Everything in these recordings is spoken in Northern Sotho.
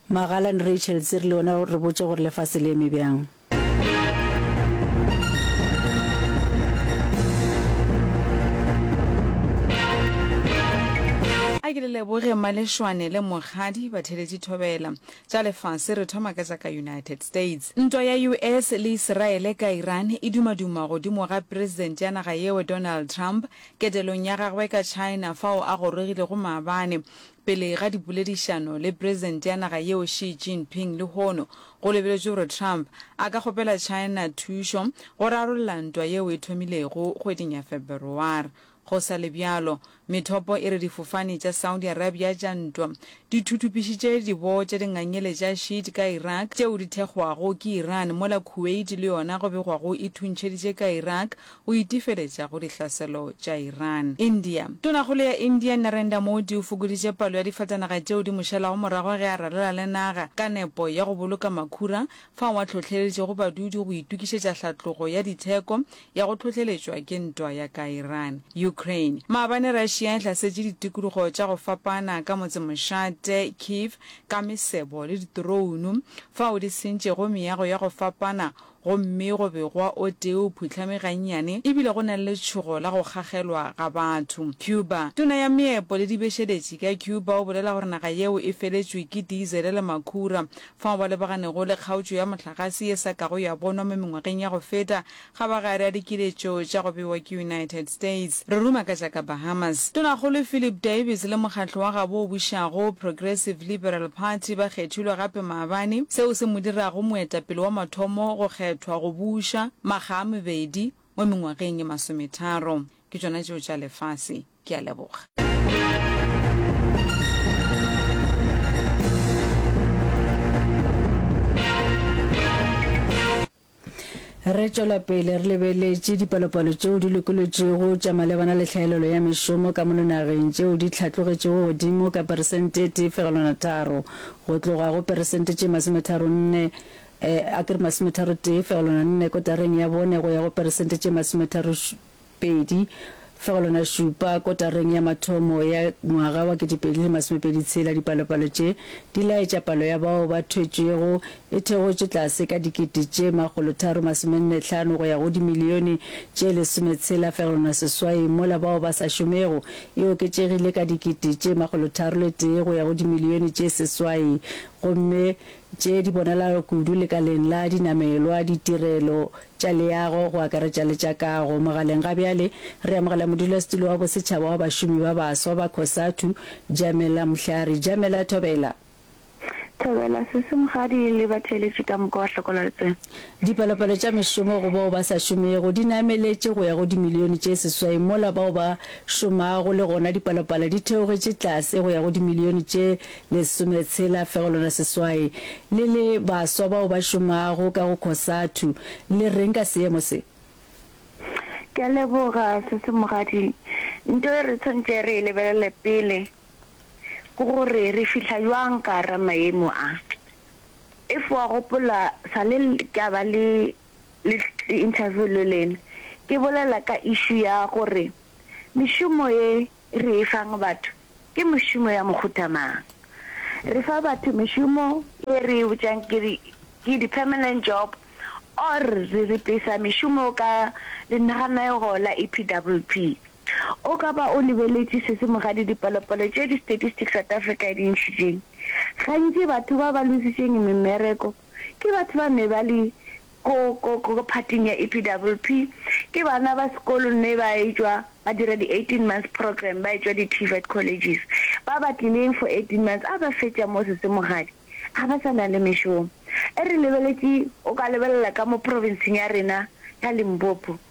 Magalane Rachel Tsiri le wena re botše gore lefase le eme bjang. A ke le leboge Malešwane le Mokgadi batheletši thobela. Tša lefase re thoma ka tša ka United States. Ntwa ya US le Isiraele ka Iran e dumaduma godimo ga President ya naga yeo Donald Trump ketelong ya gagwe ka China fao a gorogilego maabane Pele ga dipoledišano le President ya naga yeo Xi Jinping lehono, go lebeletšwe gore Trump a ka kgopela China thušo go rarolla ntwa yeo e thomilego kgweding ya Febereware. Go sa le bjalo, methopo e re difofane tša Saudi Arabia tša ntwa di thuthupišitše diboo tša dingangele tša Shiite ka Iraq tšeo di thekgwago ke Iran mola Kuwait le yona go begwago e thuntšheditše ka Iraq go itefeletša go dihlaselo tša Iran. India. Tonakgolo ya India Narendra Modi o fokoditše palo ya difatanaga tšeo di mo šalago morago ge a ralala le naga ka nepo ya go boloka makhura fao a hlohleleditšego badudi go itokišetša hlatlogo ya ditheko ya go hlohleletšwa ke ntwa ya ka Iran. Ukraine. Maabane Russia e hlasetše ditikologo tša go fapana ka motsemošate Kyiv ka mesebo le ditorounu fao di sentšego meago ya go fapana gomme go begwa o tee o phuhlame gannyane e bile go na le letšhogo la go kgagelwa ga batho. Cuba. Tona ya Meepo le Dibešeletši ka Cuba o bolela gore naga yeo e feletšwe ke diesele le makhura fao ba lebaganego le kgaotšo ya mohlagase ye sa kago ya bonwa mo mengwageng ya go feta Kgabagare a dikiletšo tša go bewa ke United States. Re ruma ka tša ka Bahamas. Tonakgolo Philip Davis le mokgatlo wa gabo o bušago, Progressive Liberal Party, ba kgethilwe gape maabane, seo se mo dirago moetapele wa mathomo go kgethwa go buša makga a mabedi mo mengwageng e masometharo. Ke tšona tšeo tša lefase. Ke a leboga. Re tšwela pele re lebeletše dipalopalo tšeo di lokolotšwego tša malebana le tlhaelelo ya mešomo ka mono nageng tšeo di hlatlogetšego godimo ka peresente e tee fegelwana tharo go tloga go peresente tše masometharonne a ke re masometharotee fegelwana nne kotareng ya bone go ya go peresente tše masometharo 2.7 kotareng ya mathomo ya ngwaga wa 2026. Dipalopalo tše di laetša palo ya bao ba thwetšwego e theogotše tlase ka dikete tše 345 go ya go dimilione tše 16.8 mola bao ba sa šomego e oketšegile ka dikete tše 301 go ya go dimilione tše 8 gomme tše di bonalago kudu lekaleng la dinamelwa, ditirelo tša leago go akaretša le tša kago. Mogaleng ga bjale re amogela modulasetulo wa bosetšhaba wa bašomi ba baswa ba Cosatu, Jamela Mhlari. Jamela, thobela. Thobela, Sesi Mokgadi le batheeletši ka moka wa Hlokola Letseno. Dipalopalo tša mešomo go bao ba sa šomego di nameletše go ya go dimilione tše seswai mola bao ba šomago le gona dipalopalo di theogetše tlase go ya go dimilione tše lesometshela fegelwana seswai. Le le baswa bao ba šomago ka go Cosatu, le reng ka seemo se? Ke a leboga, Sesi Mogadi. Nto e re tshwanetše re e lebelele pele ke gore re fihla bjang ka gara maemo a. If wa gopola sale ke a ba le le interview le lena, ke bolela ka issue ya gore mešomo ye re e fang batho ke mešomo ya mohuta mang. Re fa batho mešomo ye re e botšang ke di ke di permanent job or re replacer mešomo ka lenaganego la EPWP. O ka ba o lebeletše se se mogadi dipalopalo tše di Statistics South Africa e di ntšhitšeng. Gantši batho ba ba lositšeng mmereko ke batho ba ne ba le ko, ko, ko phathing ya EPWP, ke bana ba sekolo ne ba etšwa ba dira di 18 months program, ba etšwa di TVET colleges. Ba ba tlileng for 18 months, a ba fetša mo Sesemogadi, ga ba sa na le mešomo. E re lebeletše, o ka lebelela ka mo provinceng ya rena ya Limpopo,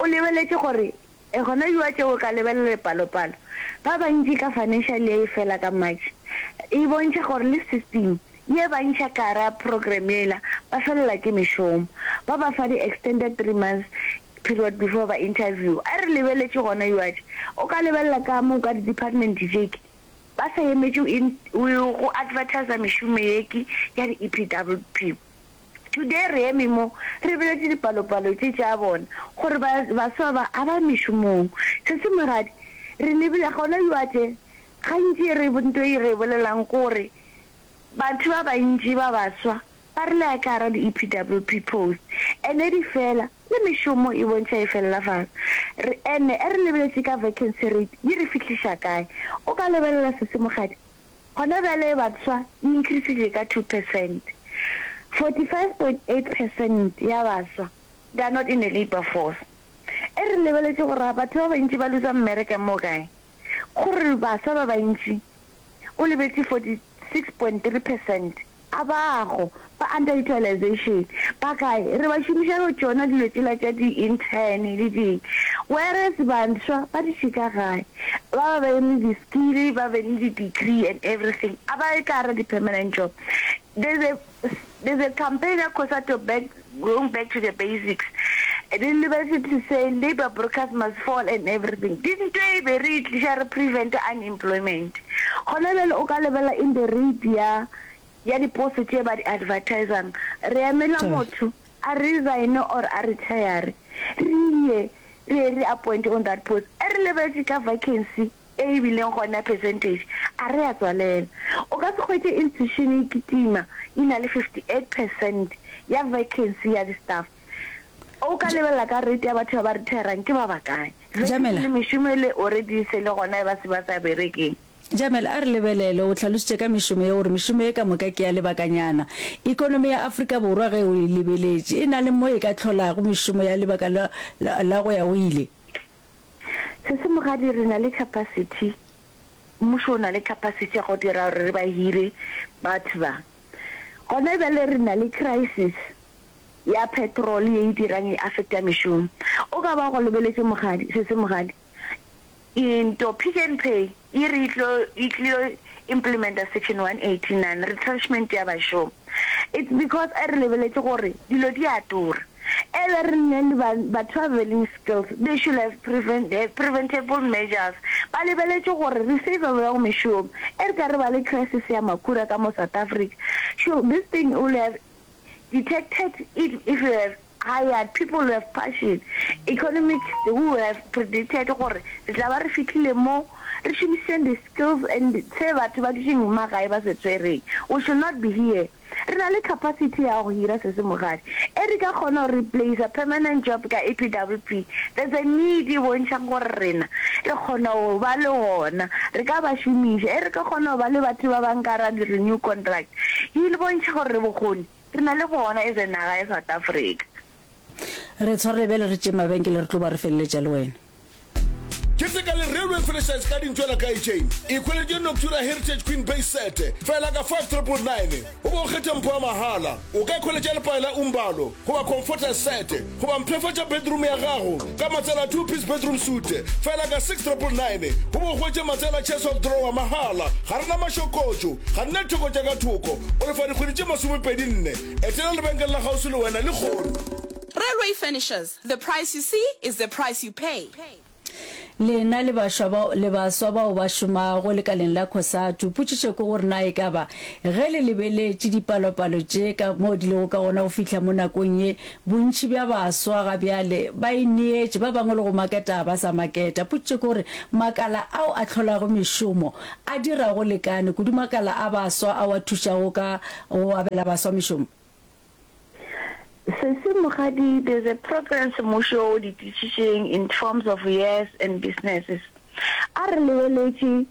o lebeletše gore E gona bjwa tše o ka lebelela dipalopalo, ba bantši ka financial year e fela ka March, e bontšha gore le system ye ba ntšha ka gara program yela ba felela ke mešomo. Ba ba fa di extended three months period before ba interview. A re lebeletše gona bjwa tše, o ka lebelela ka mo ka di department tše ke ba sa emetše go advertiser mešomo ye ke ya di EPWP. Today re eme mo re lebeletše dipalopalo tše tša bona gore ba, baswa ba a ba mešomong. Sesi Moradi, re lebile gona bjale, gantši re, nto e re e bolelang ke gore. Batho ba bantši ba baswa ba re laya ka gara di-EPWP post ene di fela, le mešomo e bontšha e felela fase. Re ene e re lebeletše ka vacancy rate di re fihliša kae? O ka lebelela sesi Mokgadi, gona bjale baswa e increasitše ka 2%. 45.8 percent ya baswa they are not in the labour force. E re lebeletše gore batho ba bantši ba loser mmereka mo kae? Gore baswa ba bantši o lebetše 46.3 percent a bago ba underutilisation ba kae? Re ba šomiša go tšona dilo tšela tša di intern le ding whereas baswa ba dutše ka gae ba ba be le di skill ba be le di degree and everything a ba ye ka gara di permanent job. There's a There's a campaign ya Cosatu back going back to the basics. Di lebetse to say labour brokers must fall and everything. Di nto e be re e tliša re prevent unemployment. Gona bjale o ka lebela in the rate ya ya diposo tše ba di advertisang. Re emela motho a resign or a retire re ye re ye re appoint on that post. E re lebetše ka vacancy e e bileng gona percentage, a re a tswalela. O ka se hwetše institution e kitima e na le 58 percent ya vacancy ya di staff. O ka lebelela ka rate ya batho ba ba retirang ke ba bakae. Jamela. Le mešomo ele already e se le gona e ba se ba sa berekeng. Jamela, a re lebelele, o hlalositše ka mešomo ye gore mešomo ye ka moka ke ya lebakanyana. Ekonomi ya Afrika Borwa ge o e lebeletše e na le mo e ka hlolago mešomo ya lebaka la, la go ya go ile? Sesi Mogadi, re na le capacity, mmušo o na le capacity ya go dira gore re ba hire batho ba. Gona bjale re na le crisis ya petrol ye e dirang e affecta mešomo. O ka ba go lebeletše Mogadi, Sesi Mogadi, into Pick n Pay e re e tlo e tlilo implementa section 189 retrenchment ya bašomi. It's because e re lebeletše gore dilo di a tura. Ebe re nne le ba batho ba be leng skills they should have prevent have preventable measures. Ba lebeletše gore re save bjang mešomo. E re ka re ba le crisis ya makhura ka mo South Africa, sure this thing will have detected it if you have hired people who have passion, economics who have predicted gore re tla ba re fihlile mo, re šomišitšeng di skills and se batho ba dutšeng magae ba se tshwereng. We should not be here. Re na le capacity ya go hira Sesi Mogadi. E re ka kgona go replacer permanent job ka EPWP, there's a need e bontšhang gore rena re kgona go ba le gona, re ka ba šomiša. E re ka kgona go ba le batho ba bang ka ra di renew contract, e bontšha gore re bokgoni Re na le bona as a naga ya South Africa. Re tshwarele bjale re tšee mabenkele re tlo ba re feleletša le wena. Keteka le Railway Furnishers ka dintšwela ka Ejane. Ikhweletše Noctura Heritage Queen Base Set fela ka 5999 goba o kgethe mpho ya mahala. O ka ikhweletša lepae la Umbalo goba Comforter Set goba mpshafatša bedroom ya gago ka matsela a two piece bedroom suite fela ka 6999 goba o hwetše matsela chest of drawer mahala. Ga re na mašokotšo. Ga nna thoko tša ka thoko, o lefa dikgwedi tše masomepedi-nne. Etela lebenkele la kgauswi le wena lehono. Railway Furnishers, the price you see is the price you pay. Lena le baswa bao, le baswa bao ba šomago lekaleng la Cosatu, potšišo ke gore na e ka ba ge le lebeletše dipalopalo tše ka moo di lego ka gona go fihla mo nakong ye, bontši bja baswa ga bjale ba ineetše, ba bangwe le go maketa ga ba sa maketa. Potšišo ke gore makala ao a hlolago mešomo a dira go lekane kudu makala a baswa ao a thušago ka go abela baswa mešomo. Sesi Mokgadi, there's a programs mmušo o di tlišitšeng in terms of years and businesses. A re lebeletše,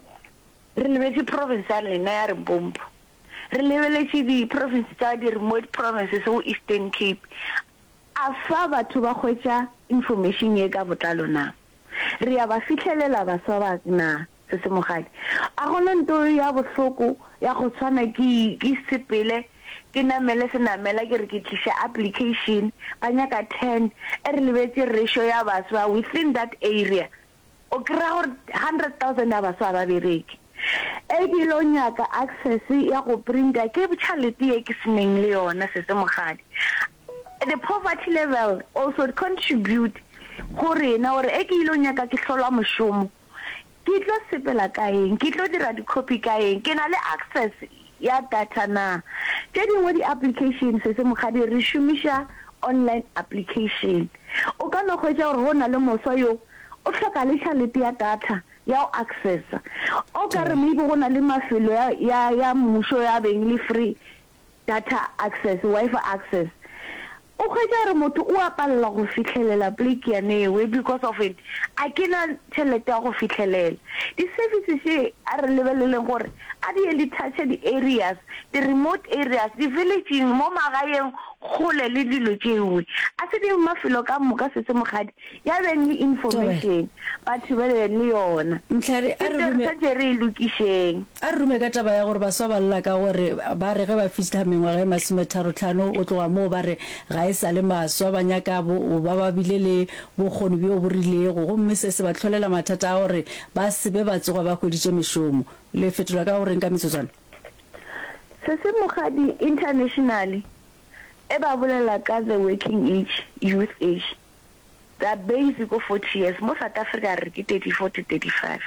re lebetše province ya lena ya Limpopo, re lebeletše di province tša di remote provinces go Eastern Cape, a fa batho ba hwetša information ye ka botlalo na? Re a ba fihlelela baswa ba na? Sesi Mogadi, A gona nto ya bohloko ya go tshwana ke ke sepele ke namele senamela ke re ke tliša application ba nyaka ten e re lebetše ratio ya baswa within that area o kry-a gore 100,000 ya baswa ga ba bereke e ke lo nyaka access ya go printa ke tšhalete ye ke seneng le yona Sesi Mogadi the poverty level also contribute go rena gore e ke ilo nyaka ke hlolwa mošomo Ke tlo sepela ka eng? Ke tlo dira di-copy ka eng? Ke na le access ya data na? Tše dingwe di-application, Sesi Mokgadi, re šomiša online application. O ka no hwetša gore go na le moswa yo o hloka le tšhalete ya data. Ya go accessa. O ka re maybe go na le mafelo ya, ya, ya mmušo ya beng le free data access, Wi-Fi access. O hwetša gore motho o a palelwa go fihlelela pleke yane ewe because of it, a ke na tšhelete ya go fihlelela. Di-services tše a re lebeleleng gore a di ye di touche di-areas, di-remote areas, di-village-ing, mo magaeng kgole le dilo tšewe. A se di mafelo ka moka sese mokgadi ya beng le information, batho ba be le yona. Mhlari, a Ke re ntho e re rume. swanetše re e lokišeng. A re rume ka taba ya gore baswa ba lla ka gore ba re ge ba fihla mengwaga e masometharotlhano go tloga moo ba re ga e sa le maswa, ba nyaka go ba ba bile le bokgoni bjo bo rilego gomme se se ba hlolela mathata a gore ba se be ba tsoga ba hweditše mešomo. Le fetola ka go reng ka metsotswana? Sesi Mokgadi, Internationally e ba bolela ka the working age, youth age. The base ko 40 years, mo South Africa re re ke 34 to 35.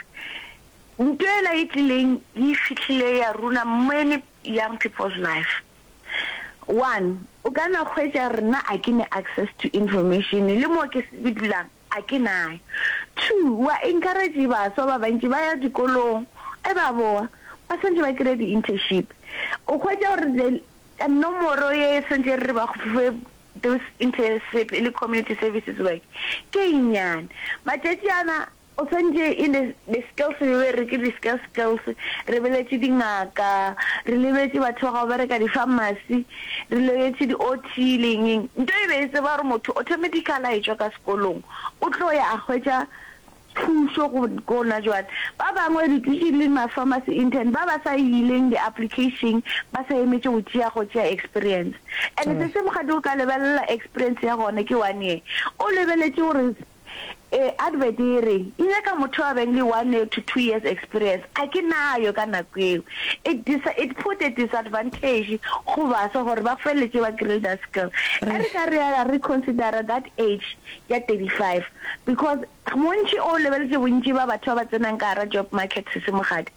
Nto ela e tlileng e fihlile ya runa many young people's life. One, o ka na hwetša rena a ke ne access to information le mo ke dulang a ke nayo. Two, wa encourage baswa ba bantši ba ya dikolong e ba boa ba swantše ba kry-e di-internship. O hwetša gore the nomoro ye swantše re re ba fe those internship le community services work ke e nnyane. Matšatši ana O swantše e le the skills be be re ke di skills skills, re beletše dingaka, re lebetše batho ba go bereka di pharmacy, re lebetše di OT le eng eng. Nto e be e tseba gore motho automatically a etšwa ka sekolong o tlo ya a hwetša thušo go gona jwale. Ba bangwe re dutše le ma pharmacy intern ba ba sa ileng di application ba sa emetše go tšea go tšea experience. And se se mokgadi o ka lebelela experience ya gona ke one year o lebeletše gore E, advert e re e nyaka motho a beng le one year to two years experience, a ke nayo ka nako eo. It dis, it put a disadvantage go baswa gore ba feleletše ba kry-ile that skill. E re ka re ya reconsidera that age ya 35 because bontši o lebeletše bontši ba batho ba ba tsenang ka gara job market sesi Mokgadi,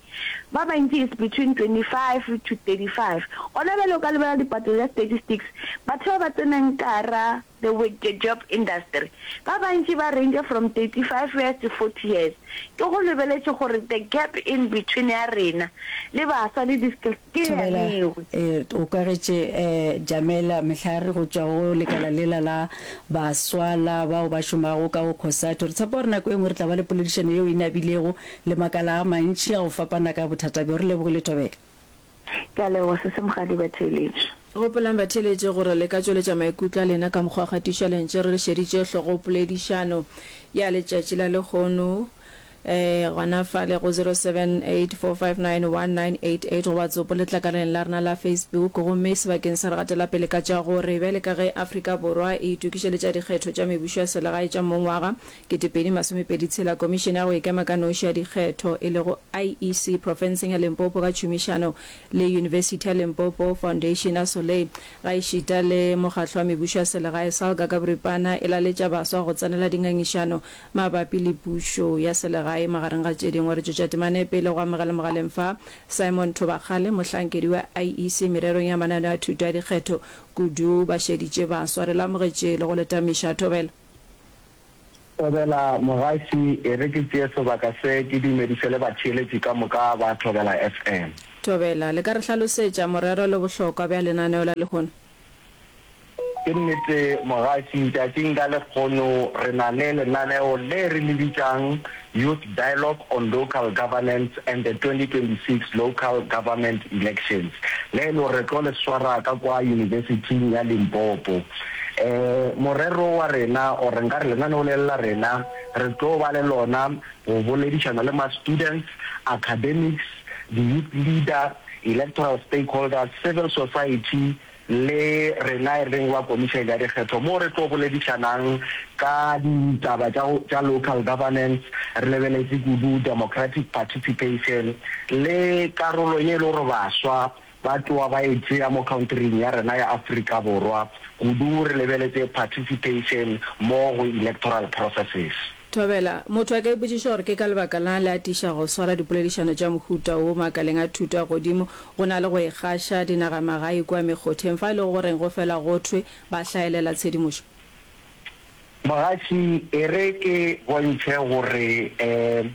ba bantši is between 25 to 35. Gona bjale o ka lebelela dipatlo tša statistics, batho ba ba tsenang ka gara The with the job industry ba bantši ba range from 35 years to 40 years. Ke go lebeletše gore the gap in between ya rena le baswa le di skills ke ya Thobela, nngwe. E, o kwagetše eh, Jamela Mehlare go tšwa go lekala lela la baswa la bao ba šomago ka go Cosatu. Re tshepa gore nako e nngwe re tla ba le poledišano yeo e nabilego le makala a mantši a go fapana ka bothata bjo. Re lebogile Thobela. Ke a leboga sesi Mokgadi batheeletši. Gopolang batheeletši gore le ka tšweletša maikutlo a lena ka mokgwa wa kgatišo ya lentšu re le šeditše hlogopoledišano ya letšatši la lehono gona fale go 0784591988 goba tsopo letlakaleng la rena la Facebook. Gomme sebakeng sa re gatela pele ka tša gore bjale ka ge Afrika Borwa e itokišeletša dikgetho tša mebušo ya selegae tša mongwaga 2026, Komišene ya go Ikema ka Noši ya Dikgetho e lego IEC profenseng ya Limpopo ka tšhomišano le Yunibesithi ya Limpopo, Foundation ya Soleil gaešita le Mokgatlo wa Mebušo ya Selegae, SALGA ka boripana, e laletša baswa go tsenela dingangišano mabapi le pušo ya selegae magareng ga tše dingwe. Re tšwetša temana e pele go amogela mogaleng fa Simon Thobakgale, mohlankedi wa IEC mererong ya mananeo a thuto ya dikgetho kudu ba šeditše baswa. Re le amogetše le go le tamiša. Thobela. Thobela Mogaši, e re ke tšee sebaka se ke dumediše le batheeletši ka moka ba Thobela FM. Thobela, le ka re hlalosetša morero le bohlokwa bja lenaneo la lehono? Ke nnete Mogaši, tšatšing la lekgono re na le lenaneo le re le bitšang Youth Dialogue on Local Governance and the 2026 Local Government Elections, le e le gore re tlo le swara ka kwa Yunibesithing ya Limpopo. Morero wa rena or nka re lenaneo le la rena re tlo ba le lona go boledišana le ma-students, academics, di-youth leader, electoral stakeholders, civil society le rena e leng ba Komišene ya Dikgetho moo re tlo boledišanang ka ditaba tša tša local governance re lebeletše kudu democratic participation le karolo ye e le gore baswa Ba tloga ba e tšea mo countryng ya rena ya Afrika Borwa, kudu re lebeletše participation mo go electoral processes. Thobela, Motho a ka ipotšiša gore ke ka lebaka lang le atiša go swara dipoledišano tša mohuta wo makaleng a thuto a godimo go na le go e gaša dinagamagae kua mekgotheng fa e lego goreng go fela go thwe ba hlaelela tshedimošo. Mogatši, e re ke bontšhe gore um.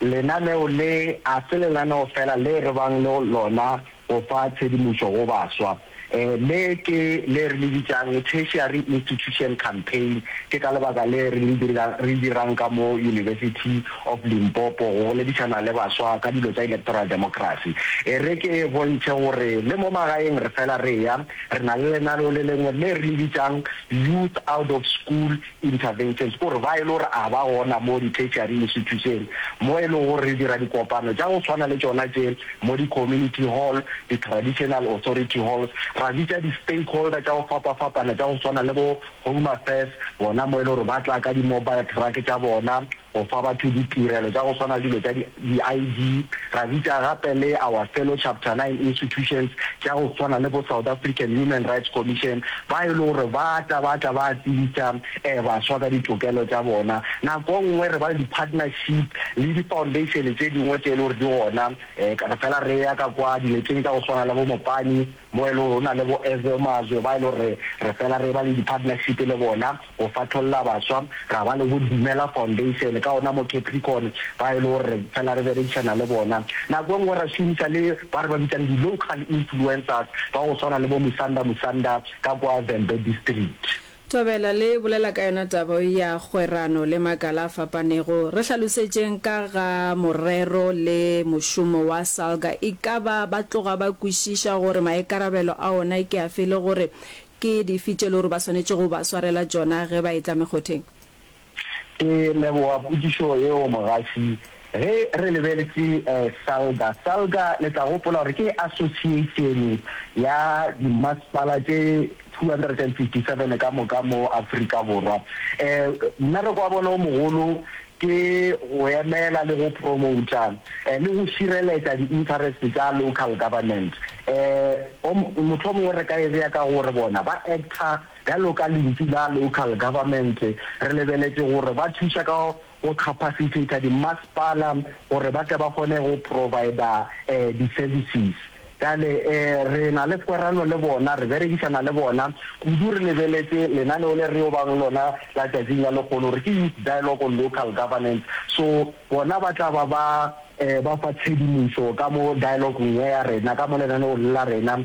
Lenaneo le a se lenaneo fela le re bang le lona go fa tshedimošo go baswa. Le ke le re le bitšang Tertiary Institution Campaign. Ke ka lebaka le re le re dirang ka mo University of Limpopo go boledišana le baswa ka dilo tša electoral democracy. E re ke bontšhe gore le mo magaeng re fela re eya, re na le lenaneo le lengwe le re le bitšang Youth Out of School Interventions, ke gore ba e le gore a ba gona mo di-tertiary institution, mo e lego gore re dira dikopano tša go swana le tšona tše mo di-community hall, di-traditional authority halls, ra bitša di-stakeholder tša go fapafapana tša go swana le bo Home Affairs, bona mo e le gore ba tla ka di-mobile truck tša bona go fa batho ditirelo tša go swana le dilo tša di-ID, ra bitša gape le our fellow Chapter 9 institutions tša go swana le bo South African Human Rights Commission, ba e le gore ba tla ba tla ba tsebisa baswa ka ditokelo tša bona. Nako nngwe re ba le di-partnership le di-foundation tše dingwe tše e le gore di gona, re fela re ya ka kwa dileteng tša go swana le bo Mopani, mo e le gore go na le bo Ezwe Mazwe ba e le gore re fela re ba le di-partnership le bona go fatholla baswa, ra ba le bo Dumela Foundation ka gona mo Capricorn ba e le gore re fela re berekišana le bona. Nako e nngwe ra šomiša le ba re ba bitsang di-local influencers ba go swana le bo Musanda Musanda ka kwa Vhembe District. Thobela le bolela ka yona taba ya kgwerano le makala a fapanego. Re hlalosetšeng ka ga morero le mošomo wa SALGA. E ka ba ba tloga ba kwešiša gore maikarabelo a ona ke afe le gore ke dife tše le gore ba swanetše go ba swarela tšona ge ba etla mekgotheng? Ke leboga potšišo yeo mogaši. Ge re lebeletše SALGA, SALGA le tla gopola gore ke association ya dimasepala tše 257 ka moka mo Afrika Borwa. Mmereko wa bona o mogolo ke go emela le go promota le go šireletša di-interest tša local government. Mohlomongwe re ka e bea ka gore bona ba acta bjalo ka lentšu la local government, re lebeletše gore ba thuša ka go capacitator dimasepala gore ba tle ba kgone go provider di-services. Bjale re na le kwerano le bona, re berekišana le bona kudu re lebeletše lenaneo le re yo bang lona la tšatšing la lehono gore ke Youth Dialogue on Local Governance. So bona ba tla ba ba ba fa tshedimošo ka mo dialogue-ong ye ya rena, ka mo lenaneong le la rena,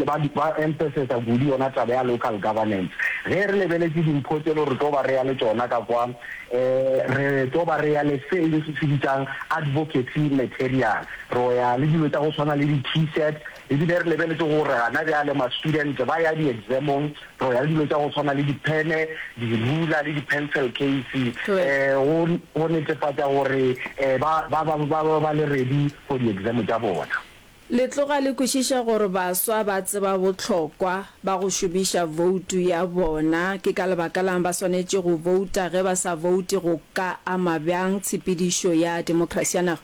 ba ba emphasisa kudu yona taba ya local governance. Ge re lebeletše dimpho tše le gore re tlo ba re ya le tšona ka kwa, re tlo ba re ya le se e le se se bitsang advocacy material. Ro ya le dilo tša go swana le di-T-shirt, ebile re lebeletše gore gana bjale ma-student ba ya di-exam-ong, Ro ya le dilo tša go swana le diphene, dirula le di-pencil case go go netefatša gore ba ba ba ba ba le ready for di-exam tša bona. Le tloga le kwešiša gore baswa ba tseba bohlokwa ba go šomiša voutu ya bona. Ke ka lebaka la'ng ba swanetše go vouta? Ge ba sa voute go ka ama bjang tshepedišo ya demokrasi ya naga?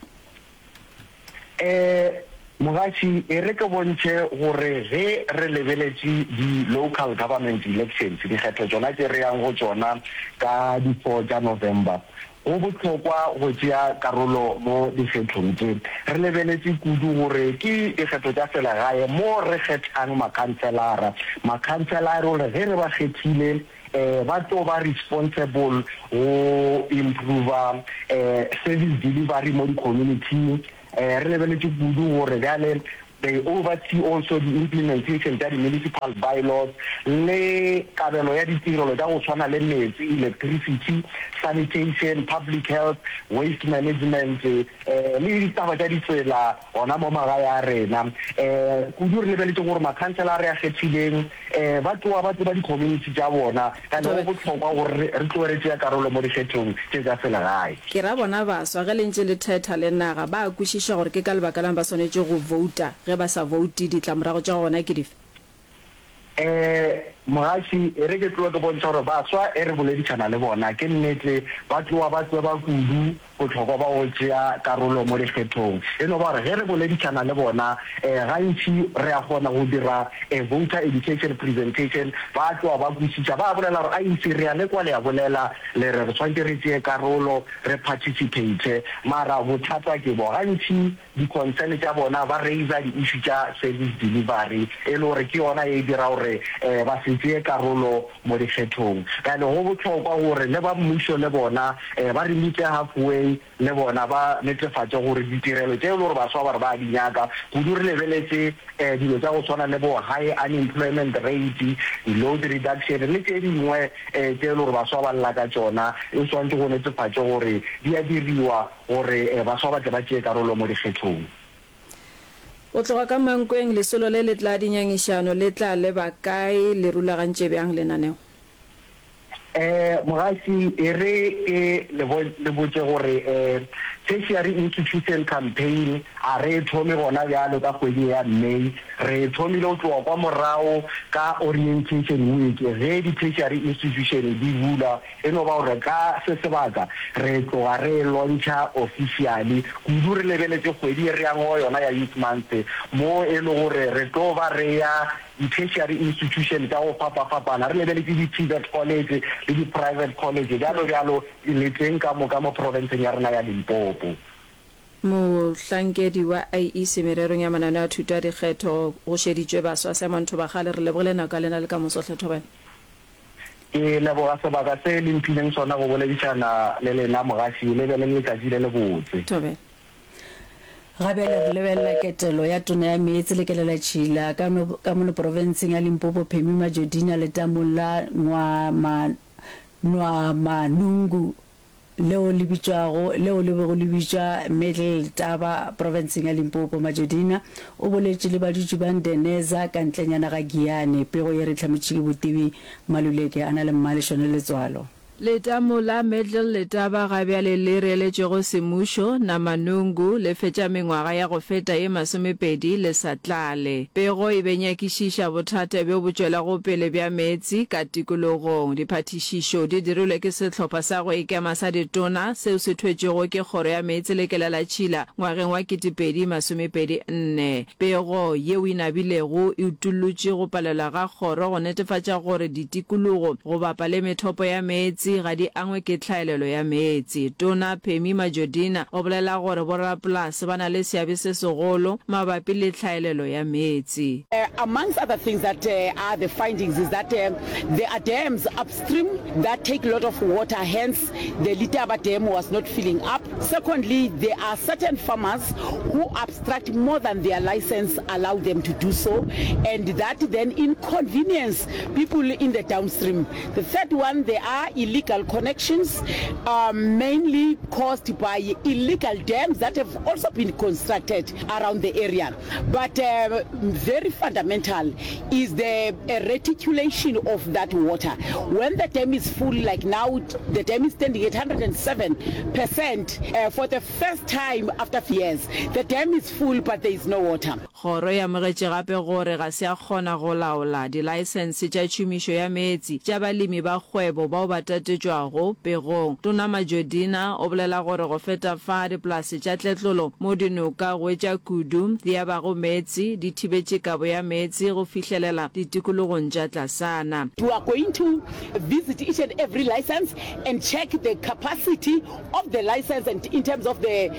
E, Mogaši, e re ke bontšhe gore ge re lebeletše di Local Government Elections, dikgetho tšona tše re yang go tšona ka di four tša November, go bohlokwa go tšea karolo mo dikgethong tše. Re lebeletše kudu gore ke dikgetho tša selegae mo re kgethang makhanselara. Makhanselara gore ge re ba kgethile, ba tlo ba responsible go improver service delivery mo di-community-ing. Re lebeletše kudu gore bjale they oversee also di-implementation tša di-municipal by-laws le kabelo ya ditirelo tša go swana le meetse, electricity, sanitation, public health, waste management le ditaba tša ditsela gona mo magae a rena. Kudu re lebeletše gore makhansela a re a kgethileng ba tloga ba tseba di-community tša bona, and go bohlokwa gore re tloge re tšea karolo mo dikgethong tše tša selegae. Ke ra bona baswa, ge le ntše le thetha le naga, ba a kwešiša gore ke ka lebaka lang ba swanetše go vouta, ge ba sa voute ditlamorago tša gona ke dife? Mogaši, e re ke tloge ke bontšha gore baswa e re boledišana le bona, ke nnete ba tloga ba tseba kudu bohlokwa bja go tšea karolo mo dikgethong. E no ba gore ge re boledišana le bona, gantši re a kgona go dira a voter education presentation, ba tloga ba kwešiša, ba bolela gore aise re a le kwa le a bolela, le re re swanetše re tšee karolo, re participate, mara bothata ke bo, gantši di-concern tša bona ba raiser di-issue tša service delivery e le gore ke yona ye e dira gore ba se tšee karolo mo dikgethong. Bjale go bohlokwa gore le ba mmušo le bona ba re meet halfway. beng le bona ba netefatše gore ditirelo tše e le gore baswa ba re ba a di nyaka, kudu re lebeletše dilo tša go swana le bo high unemployment rate, di-load reduction le tše dingwe tše e le gore baswa ba lla ka tšona, e swanetše go netefatše gore di a diriwa gore baswa ba tle ba tšee karolo mo dikgethong. Go tloga ka Mankweng, lesolo le le tla dinyangišano le tla leba kae? Le rulagantše bjang lenaneo? Mogaši, e re ke le le botše gore Tertiary Institution Campaign a re e thome gona bjalo ka kgwedi ye ya May. Re e thomile go tloga kwa morago ka Orientation Week ge di-tertiary institution di bula. E no ba gore ka se sebaka re tloga re e launcha officially, kudu re lebeletše kgwedi ye re yang go yona ya Youth Month mo e le gore re tlo ba re ya di-tertiary institution tša go fapafapana, re lebeletše di-TVET college le di-private college bjalo bjalo leteng ka moka mo profenseng ya rena ya Limpopo. Mohlankedi wa IEC mererong ya mananeo a thuto a dikgetho go šeditšwe baswa Simon Thobakgale, re lebogile nako ya lena le ka moso hle Thobela. Ke leboga sebaka se le mphileng sona go boledišana le lena mogaši, le be le letšatši le lebotse. Thobela. Ga bjale re lebelela ketelo ya Tona ya Meetse le Kelelatšhila ka ka mono profenseng ya Limpopo Phemi Majodina letamong la Nwamanungu leo le bitšwago leo le bego le bitšwa Middle Letaba profenseng ya Limpopo. Majodina o boletše le badutši ba Ndeneza ka ntlenyana ga Giyani. Pego ye re hlametše ke Botibi Maluleke a na le Mmalešone Letswalo. Letamo la Middle Letaba ga bjale le reeletšwego semmušo, Namanungu, le fetša mengwaga ya go feta ye masomepedi le sa tlale. Pego e be nyakišiša bothata bjo bo tšwelago pele bja meetse ka tikologong. Diphathišišo di dirilwe ke sehlopha sa go ikema sa ditona seo se thwetšwego ke Kgoro ya Meetse le Kelelatšhila ngwageng wa 2024. Pego yeo e nabilego e utollotše go palelwa ga kgoro go netefatša gore ditikologo go bapa le methopo ya meetse ga di angwe ke tlhaelelo ya meetse. Tona Pemmy Majodina o bolela gore borapolase ba na le seabe se segolo mabapi le tlhaelelo ya meetse. Amongst other things that are the findings is that there are dams upstream that take lot of water hence the Letaba dam was not filling up. Secondly, there are certain farmers who abstract more than their license allow them to do so and that then inconvenience people in the downstream. The third one, there are illegal connections um, mainly caused by illegal dams that have also been constructed around the area. But uh, very fundamental is the uh, reticulation of that water. When the dam is full, like now the dam is standing at 107% uh, for the first time after years. The dam is full but there is no water. Kgoro e amogetše gape gore ga se ya kgona go laola dilaesense tša tšhomišo ya meetse tša balemi ba kgwebo bao ba tatetšwago pegong. Tona Majodina o bolela gore go feta fa dipolase tša tletlolo mo dinoka go etša kudu di abago meetse di thibetše kabo ya meetse go fihlelela ditikologong tša tlasana. We are going to visit each and every license and check the capacity of the license and in terms of the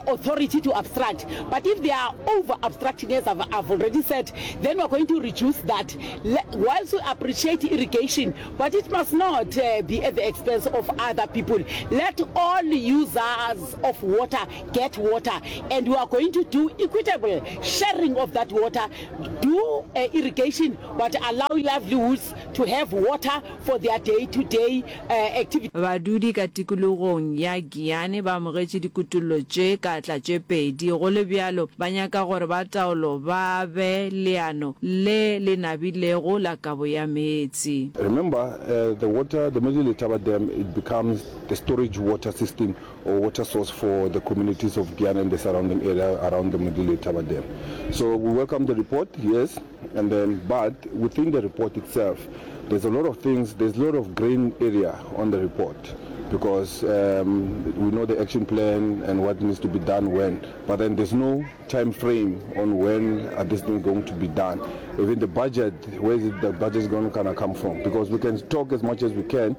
authority to abstract. But if they are over abstracting, as I've, I've already said, then we are going to reduce that. Whilst we appreciate irrigation, but it must not uh, be at the expense of other people. Let all users of water get water, and we are going to do equitable sharing of that water. Do uh, irrigation, but allow livelihoods to have water for their day-to-day activities. Badudi ka tikologong ya Giyani ba amogetše dikutollo tše ka tla tše pedi. Go le bjalo, ba nyaka gore ba taolo ba be leano le le nabilego la kabo ya meetse. Remember, the water, the Middle Letaba Dam, it becomes the storage water system or water source for the communities of Giyani and the surrounding area around the Middle Letaba Dam. So we welcome the report, yes, and then, but within the report itself, there's a lot of things, there's a lot of green area on the report because um, we know the action plan and what needs to be done when, but then there's no time frame on when are this thing going to be done. Even the budget, where is it the budget is going to kind of come from? Because we can talk as much as we can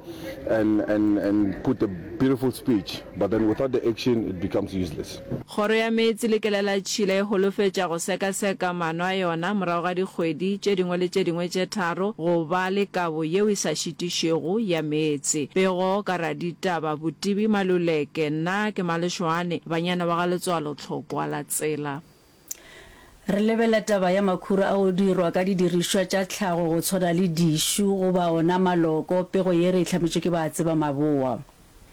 and, and, and put a beautiful speech, but then without the action, it becomes useless. Kgoro ya Meetse le Kelelatšhila e holofetša go sekaseka maano a yona morago ga dikgwedi tše dingwe le tše dingwe tše tharo go ba le kabo yeo e sa šitišwego ya meetse. Pego ka. ditaba Botibi Maluleke, nna ke Malešwane, banyana wa ga Letswalo Tlhokwa la tsela. Re lebelela taba ya makhura a go dirwa ka didirišwa tša tlhago go tshwana le dišu goba ona maloko. Pego ye re e hlametšwe ke Baatseba Maboa.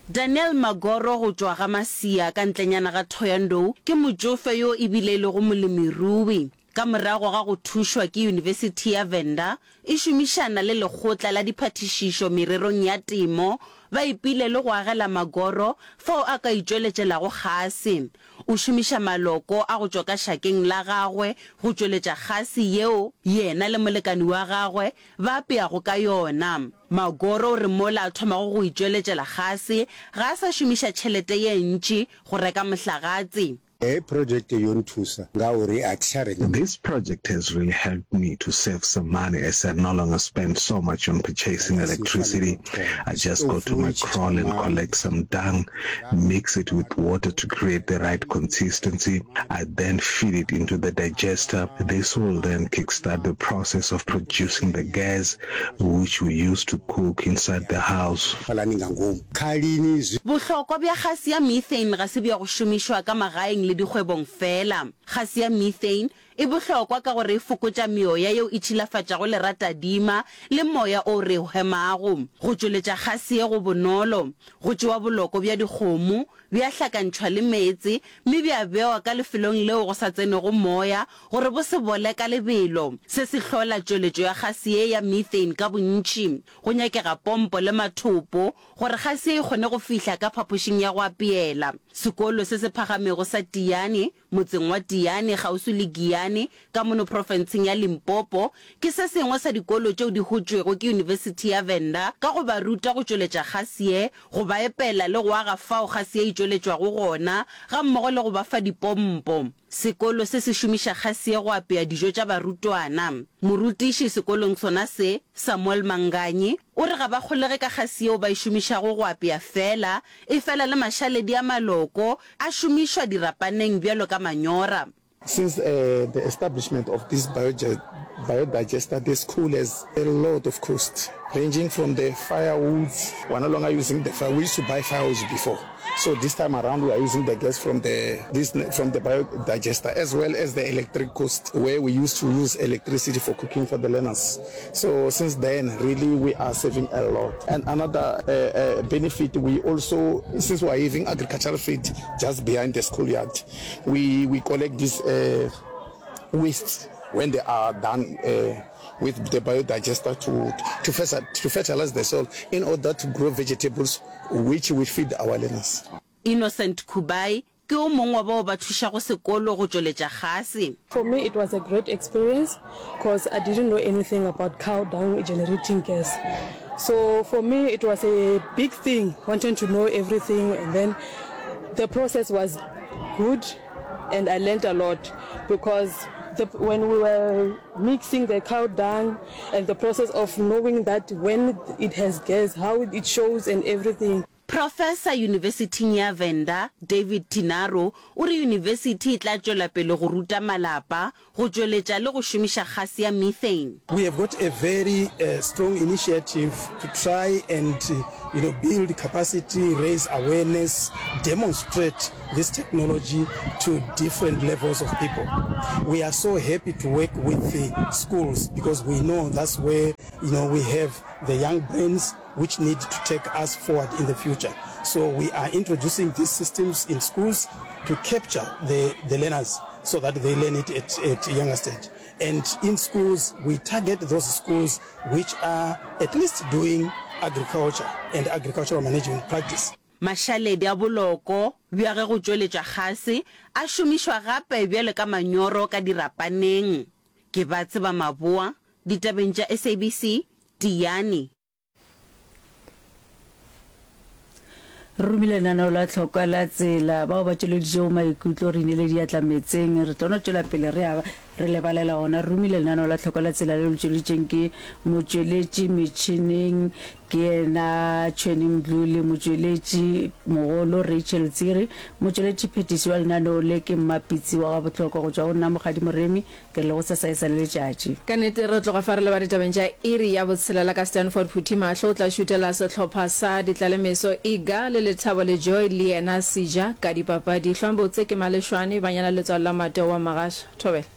Daniel Magoro go tšwa ga Masia ka ntlenyana ga Thohoyandou ke motšofe yo e bile e lego molemirui. Ka morago ga go thušwa ke Yunibesithi ya Venda e šomišana le Lekgotla la Diphathišišo Mererong ya Temo, ba epile le go agela Magoro fao a ka itšweletšelago kgase. O šomiša maloko a go tšwa ka šakeng la gagwe go tšweletša kgase yeo yena le molekani wa gagwe ba apeago ka yona. Magoro o re mola a thomago go itšweletšela kgase, ga a sa šomiša tšhelete ye ntši go reka mohlagatse. Hei project yo nthusa ngauri a thi tsha renga. This project has really helped me to save some money as I no longer spend so much on purchasing electricity. I just go to my kraal and collect some dung, mix it with water to create the right consistency. I then feed it into the digester. This will then kickstart the process of producing the gas which we use to cook inside the house. Fhalani nga ngomu khalini zwi. Bohlokwa bja gase ya methane ga se bja go šomišwa ka magaeng le dikgwebong feela. Gase ya methane e bohlokwa ka gore e fokotša meoya yeo e tšhilafatšago leratadima le moya o re o hemago. Go tšweletša gase ye go bonolo. Go tšewa boloko bja dikgomo, bja hlakantšhwa le meetse mme bja bewa ka lefelong leo go sa tsenego moya gore bo se bole ka lebelo. Se se hlola tšweletšo ya gase ye ya methane ka bontši. Go nyakega pompo le mathopo gore gase ye e kgone go fihla ka phapošing ya go apeela. Sekolo se se phagamego sa Tiyani, motseng wa Tiyani kgauswi le Giyani ka mono profenseng ya Limpopo, ke se sengwe sa dikolo tšeo di hotšwego ke Yunibesithi ya Venda ka go ba ruta go tšweletša gase ye, go ba epela le go aga fao gase ye e tšweletšwago gona, gammogo le go ba fa dipompo. Sekolo se se šomiša gase ye go apea dijo tša barutwana. Morutiši sekolong sona se, Samuel Manganyi, o re ga ba kgolege ka gase yeo ba e šomišago go apea feela, efela le mašaledi a maloko a šomišwa dirapaneng bjalo ka manyora. Since the establishment of this biodigester, the school has a lot of cost, ranging from the firewoods, we are no longer using the fire, we used to buy firewoods before, so this time around we are using the gas from the, this, from the biodigester, as well as the electric cost, where we used to use electricity for cooking for the learners. So since then, really we are saving a lot. And another uh, uh, benefit, we also, since we are having agricultural feed just behind the schoolyard, We, we collect these uh, waste when they are done uh, with the biodigester to, to, to fertilize the soil in order to grow vegetables which we feed our learners. Innocent Kubai ke o mongwe wa bao ba thušago sekolo go tšweletša gase. For me it was a great experience cause I didn't know anything about cow dung generating gas. So for me it was a big thing wanting to know everything and then the process was good and I learned a lot because the, when we were mixing the cow dung and the process of knowing that when it has gas, how it shows and everything. Profesa Yunibesithing ya Venda, David Tinaro, o re yunibesithi e tla tšwela pele go ruta malapa go tšweletša le go šomiša gase ya methane. We have got a very strong initiative to try and you know build capacity, raise awareness, demonstrate this technology to different levels of people. We are so happy to work with the schools because we know that's where you know we have the young brains which need to take us forward in the future. So we are introducing these systems in schools to capture the, the learners so that they learn it at, at a younger stage. And in schools, we target those schools which are at least doing agriculture and agricultural management practice. Mašaledi a boloko bja ge go tšweletšwa gase a šomišwa gape bjalo ka manyoro ka dirapaneng. Ke ba tseba maboa ditabeng tša SABC, Tiyani. Re romile lenaneo la tlhokwa la tsela bao ba tšweleditšego maikutlo re inele diatla meetseng. Re tlo no tšwela pele re a. Re le balela ona. Re romile lenaneo la Tlhoko la Tsela leo le tšweleditšeng ke motšweletši metšhineng ke yena Tšhweni Mdluli, motšweletši mogolo Rachel Tsiri, motšweletši phetiši wa lenaneo le ke Mmapitsi wa Gabohlokwa. Go tšwa go nna Mokgadi Moremi, ke re le gosasa e sa le letšatši. Ka nnete re tloga fa re leba ditabeng tša iri ya botshelela ka Stanford Phuthimahlo o tla šutela sehlopha sa Ditlalemeso Iga le Lethabo le Joy le yena Seja ka dipapadi. Hlwang botse ke Malešwane, Banyana Letswalo la Mateo wa Magasha. Thobela.